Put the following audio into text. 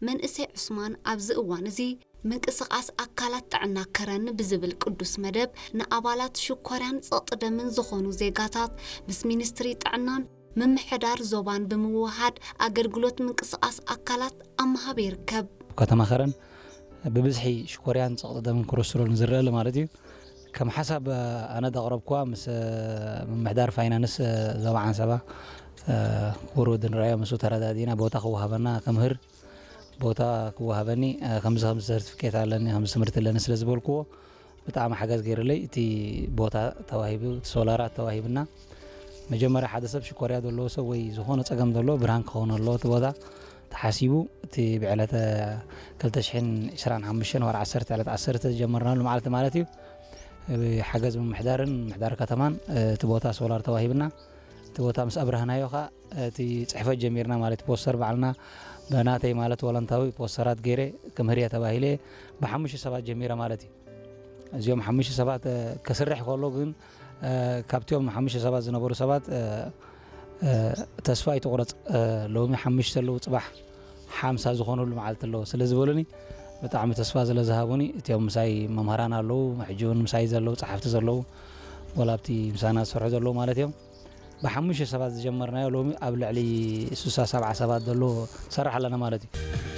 መንእሰይ ዑስማን ኣብዚ እዋን እዚ ምንቅስቓስ ኣካላት ጥዕና ከረን ብዝብል ቅዱስ መደብ ንኣባላት ሽኮርያን ጸቕጢ ደምን ዝኾኑ ዜጋታት ምስ ሚኒስትሪ ጥዕናን ምምሕዳር ዞባን ብምውሃድ ኣገልግሎት ምንቅስቓስ ኣካላት ኣብ ምሃብ ይርከብ። ኣብ ከተማ ከረን ብብዝሒ ሽኮርያን ጸቕጢ ደምን ኮለስትሮልን ዝረኣሉ ማለት እዩ። ከም ሓሳብ ኣነ ዘቕረብኩዋ ምስ ምምሕዳር ፋይናንስ ዞባ ዓንሰባ ክቡር ወዲ ንርኣዮ ምስኡ ተረዳዲእና ቦታ ክወሃበና ክምህር ቦታ ክወሃበኒ ከምዚ ከምዚ ሰርቲፊኬት ኣለኒ ከምዚ ትምህርቲ ኣለኒ ስለ ዝበልክዎ ብጣዕሚ ሓገዝ ገይርለይ እቲ ቦታ ተዋሂቡ እቲ ሶላራት ተዋሂብና መጀመርያ ሓደ ሰብ ሽኮርያ ዘለዎ ሰብ ወይ ዝኾነ ፀገም ዘለዎ ብርሃን ክኸውን ኣለዎ እቲ ቦታ ተሓሲቡ እቲ ብዕለተ ክልተ ሽሕን ዕስራን ሓሙሽተን ወርሒ ዓሰርተ ዕለት ዓሰርተ ዝጀመርናሉ መዓልቲ ማለት እዩ ሓገዝ ምምሕዳርን ምምሕዳር ከተማን እቲ ቦታ ሶላር ተዋሂብና እቲ ቦታ ምስ ኣብረህናዮ ከዓ እቲ ፅሕፈት ጀሚርና ማለት ፖስተር ባዕልና ብናተይ ማለት ወለንታዊ ፖስተራት ገይረ ክምህርየ ተባሂለ ብሓሙሽተ ሰባት ጀሚረ ማለት እዩ እዚኦም ሓሙሽተ ሰባት ከስርሕ ከሎ ግን ካብቲኦም ሓሙሽተ ሰባት ዝነበሩ ሰባት ተስፋ ኣይትቑረፅ ሎሚ ሓሙሽተ ኣለዉ ፅባሕ ሓምሳ ዝኾነሉ መዓልቲ ኣለዎ ስለ ዝበሉኒ ብጣዕሚ ተስፋ ስለ ዝሃቡኒ እቲኦም ምሳይ መምህራን ኣለዉ ሕጂ እውን ምሳይ ዘለዉ ፀሓፍቲ ዘለዉ ወላ ኣብቲ ምሳና ዝሰርሑ ዘለዉ ማለት እዮም ብሓሙሽተ ሰባት ዝጀመርናዮ ሎሚ ኣብ ልዕሊ ስሳ ሰብዓ ሰባት ዘሎ ሰራሕ ኣለና ማለት እዩ